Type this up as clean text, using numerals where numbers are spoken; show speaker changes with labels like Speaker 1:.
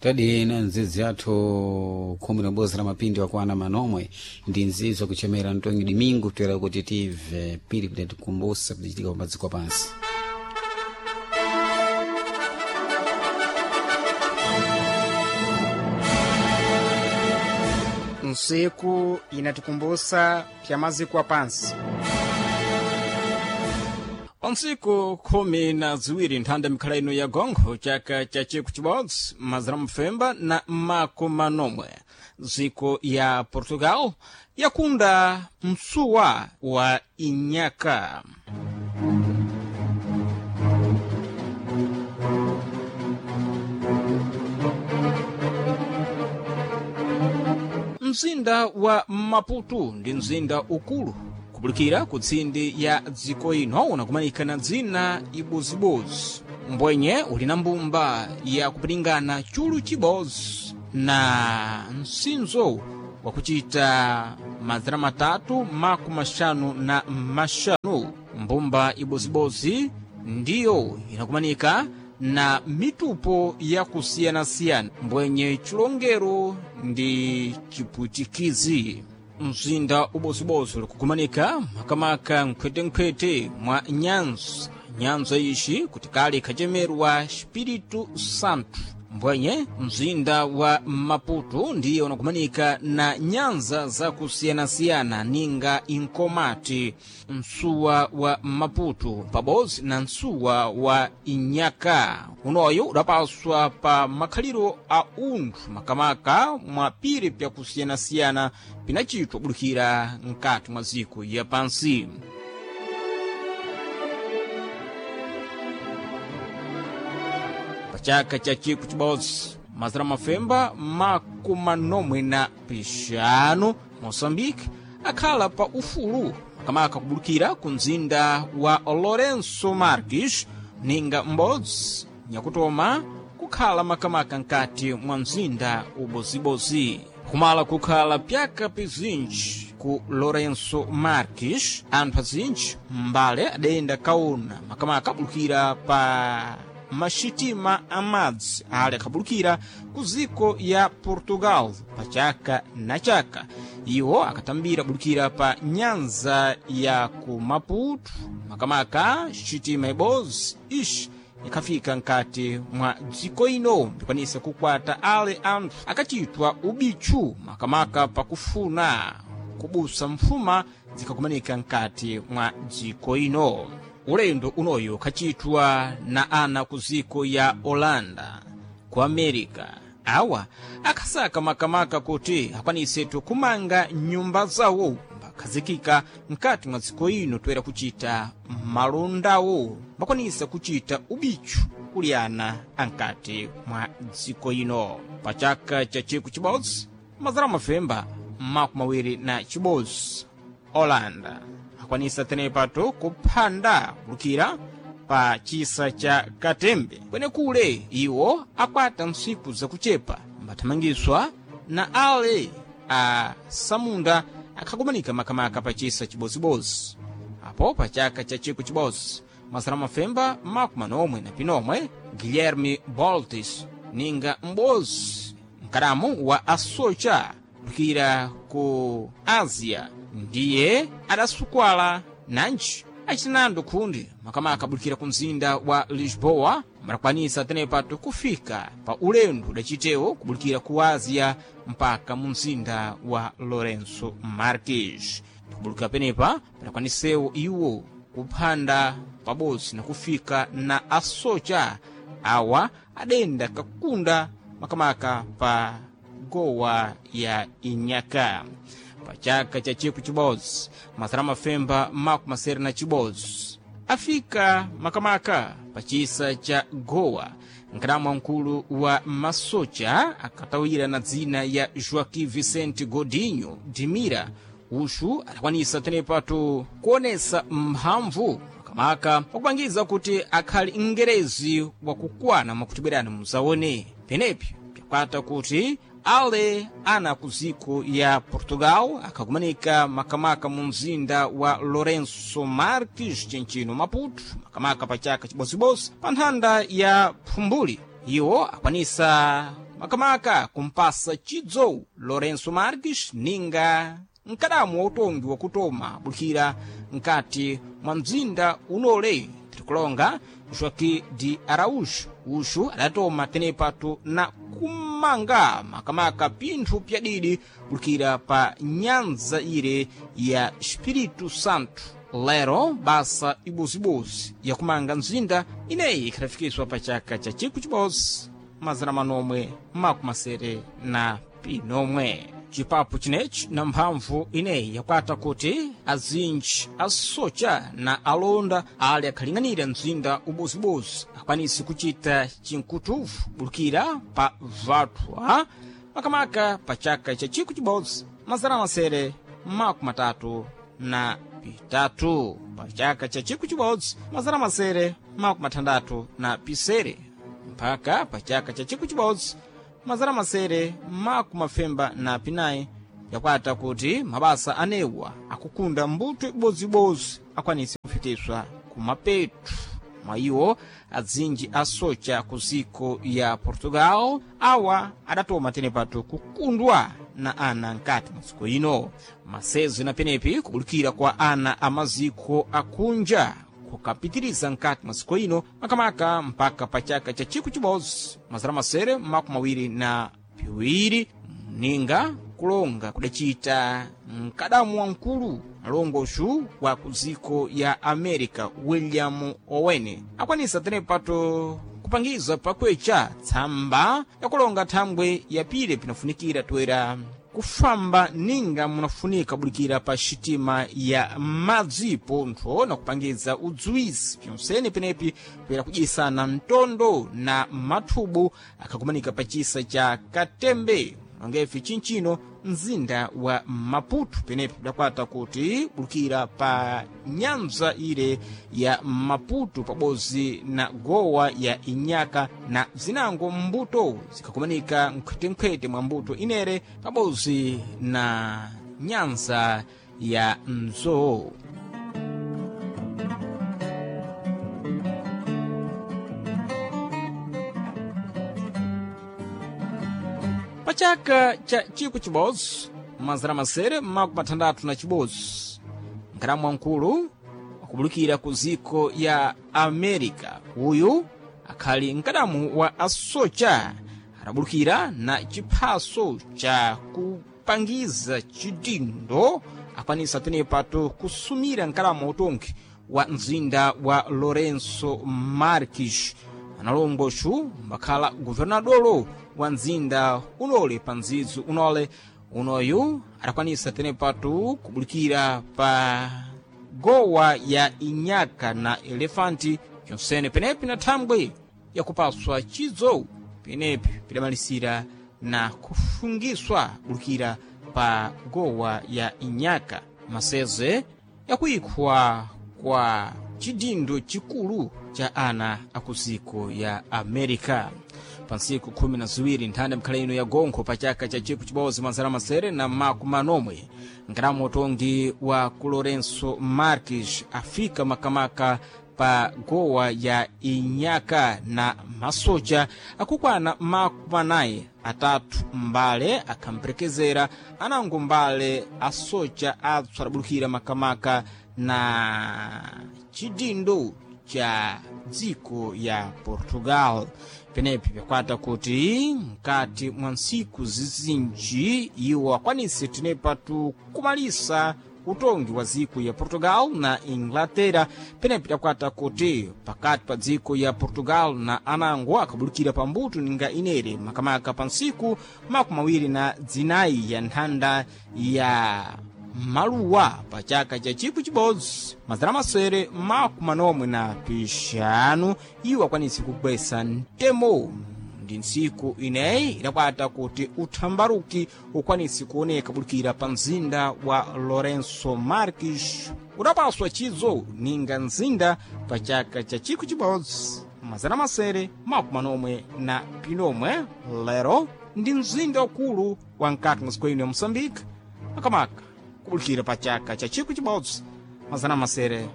Speaker 1: Tadi na nzizi athu 11 la mapindi wakwana manomwe ndi nzizi wakuchemera Antonio Domingo toera kuti tive pili kuti tikumbusa kuchitika pamadziko pansi.
Speaker 2: Ntsiku inatikumbusa pya maziko apansi.
Speaker 3: Pantsiku 12 nthanda mikhala ino ya gonkho chaka cha chiku chibodzi mazana mfemba na makumi manomwe dziko ya Portugal yakunda msuwa wa Inhaka. Mzinda wa Maputo ndi mzinda ukulu kupulikira ku tsindi ya dziko ino unakumanika na dzina ibozibozi mbwenye uli na mbumba ya kupilingana chulu chibodzi na msinzo wakuchita mazana matatu makumi maxanu na maxanu. Mbumba ibozibozi ndiyo inakumanika na mitupo yakusiyanasiyana mbwenye chilongero ndi chipwitikizi. Mzinda ubozibozi ulikukumanika makamaka nkhwetenkhwete mwa nyanza. Nyanza ixi kuti kale ikhachemerwa Espírito Santo. Mbwenye mzinda wa Maputo ndiye unakumanika na nyanza zakusiyanasiyana ninga Inkomati, msuwa wa Maputo pabodzi na msuwa wa Inhaka. Unoyo udapaswa pa makhaliro a unthu makamaka mwa piri pyakusiyanasiyana pinachitwa kubudukira mkati mwa dziko ya pansi. Pachaka cha chiku chibodzi mazana mafemba makumi manomwe na pixanu, Moçambique akhala pa ufulu makamaka kubulukira ku mzinda wa Lourenço Marques ninga m'bodzi nyakutoma kukhala makamaka nkati mwa mzinda ubozibozi. Kumala kukhala pyaka pizinji ku Lourenço Marques, anthu azinji mbale adayenda kaona makamaka abulukira pa maxitima amadzi ali akhabulukira ku dziko ya Portugal pa chaka na chaka. Iwo akatambira bulukira pa nyanza ya ku Maputo makamaka xitima ibodzi ixi ikhafika nkati mwa dziko ino mbikwanisa kukwata ale anthu akachitwa ubitchu makamaka pakufuna kubusa mfuma zikhakumanika nkati mwa dziko ino. Ulendo unoyo khachitwa na ana ku dziko ya Holanda, ku America. Awa akhasaka makamaka kuti akwanisetu kumanga nyumba zawo mbakhazikika mkati mwa dziko ino toera kuchita malondawo mbakwanisa kuchita ubitchu kuliyana ankati mwa dziko ino. Pa chaka cha chiku chibodzi mazana mafemba makumi awiri na chibodzi, Holanda akwanisa tenepato kuphanda bulukira pa chisa cha Katembe kwenekule iwo akwata ntsiku zakuchepa mbathamangiswa na ale a samunda akhakumanika makamaka pa chisa chibozibozi. Apo pa chaka cha chiku chibodzi masana mafemba makumi manomwe na pinomwe, Guilherme Boltes ninga m'bodzi mkadamu wa asocha bulukira ku Ásia ndiye adasukwala nanji acinando khundi makamaka abulukira ku mzinda wa Lisboa marakwanisa tenepato kufika pa ulendo udacitewo kubulukira ku Ásia mpaka mu mzinda wa Lourenço Marques. Kubulukira penepa padakwanisewo iwo kuphanda pabodzi na kufika na asocha awa adenda kakunda makamaka pa gowa ya Inhaka. Pa chaka cha chiku chibodzi masana mafemba makumi masere na chibodzi afika makamaka pa chisa cha Goa. Nkadamu mkulu wa masocha akatawira na dzina ya Joaquim Vicente Godinho Dimira uxu adakwanisa tenepato kuonesa mphamvu makamaka pakupangiza kuti akhali mngerezi wakukwana mwakuti bwerani muzaone. Penepi pyakwata kuti ale ana ku dziko ya Portugal akhakumanika makamaka mu mzinda wa Lourenço Marques chinchino Maputo makamaka pa chaka chibodzibozi pa nthanda ya Phumbuli. Iwo akwanisa makamaka kumpasa chidzo Lourenço Marques ninga mkadamu wa utongi wakutoma bulikira nkati mwa mzinda unole tirikulonga Joaquim de Araújo. Uxu adatoma tenepatu na kumanga makamaka pinthu pyadidi bulikira pa nyanza ire ya Espírito Santo. Lero basa ibozibozi yakumanga mzinda ineyi ikhafikiswa pa chaka cha 1971. Chipapu chinechi na mphamvu ineyi yakwata kuti azinji asocha na alonda ali akhaling'anira mzinda ubozibozi akwanise kuchita chinkutuvu bulukira pa vatwa makamaka pa chaka cha 1933 pa chaka cha 1967 mpaka pa chaka cha 1994 yakwata kuti mabasa anewa akukunda mbuto ibozibozi akwanise kufikiswa kumapetu. Mwa iwo adzinji asocha ku ziko ya Portugal awa adatoma tenepatu kukundwa na ana nkati mwa dziko ino. Masezo na penepi kubulikira kwa ana amaziko akunja kukapitiriza nkati mwa dziko ino makamaka mpaka pa chaka cha 1922 ninga kulonga kudacita mkadamu wamkulu alongoxu wa ku dziko ya America William Owen akwanisa tenepato kupangiza pakwecha tsamba yakulonga thambwe yapire pinafunikira toera kufamba ninga munafunika bulikira pa xitima ya madzi pontho na kupangiza udziwisi pyonsene penepi poyera kudyisana mtondo na mathubu akhakumanika pa chisa cha Katembe ngefe chinchino mzinda wa Maputo penepi kudakwata kuti bulukira pa nyanza ile ya Maputo pabodzi na gowa ya Inyaka na zinango mbuto zikhakumanika nkhwetenkhwete mwa mbuto inere pabodzi na nyanza ya Mzowo. Pa chaka cha 1961 nkalamu wamkulu wakubulukira ku ziko ya America uyu akhali mkadamu wa asocha adabulukira na chiphaso cha kupangiza chidindo akwanisa tenepato kusumira mkalamu wa utongi wa mzinda wa Lourenço Marques. Analongoxu mbakhala guvernadolo wa mzinda unole pa mdzidzi unole unoyu adakwanisa tenepatu kubulikira pa gowa ya Inyaka na Elefanti pyonsene penepi na thambwe yakupaswa chidzo penepi pidamalisira na kufungiswa bulukira pa gowa ya Inyaka maseze yakuikhwa kwa chidindo chikulu cha ana akuziko ya America. Pa ntsiku 12 nthanda mikhala ino ya gonkho pa chaka cha 1940 nkalamu utongi wa ku Lourenço Marques afika makamaka pa gowa ya Inyaka na masocha akukwana 43 mbale akhamperekezera anango mbale asocha atsu adabulukira makamaka na chidindo cha dziko ya Portugal. Penepi pyakwata kuti mkati mwa ntsiku zizinji iwo akwanise tenepatu kumalisa utongi wa dziko ya Portugal na Inglaterra. Penepi pyakwata kuti pakati pa dziko ya Portugal na anango akabulukira pambuto ninga inere makamaka pa ntsiku 24 ya nthanda ya maluwa pa chaka cha 1945 iwo akwanise kugwesa mtemo. Ndi ntsiku ineyi idakwata kuti uthambaruki ukwanise kuoneka bulukira pa mzinda wa Lourenço Marques udapaswa chidzo ninga mzinda pa chaka cha 1949. Lero ndi mzinda ukulu wa mkati mwa dziko ino ya Moçambique makamaka kubulikira pa chaka cha 1959.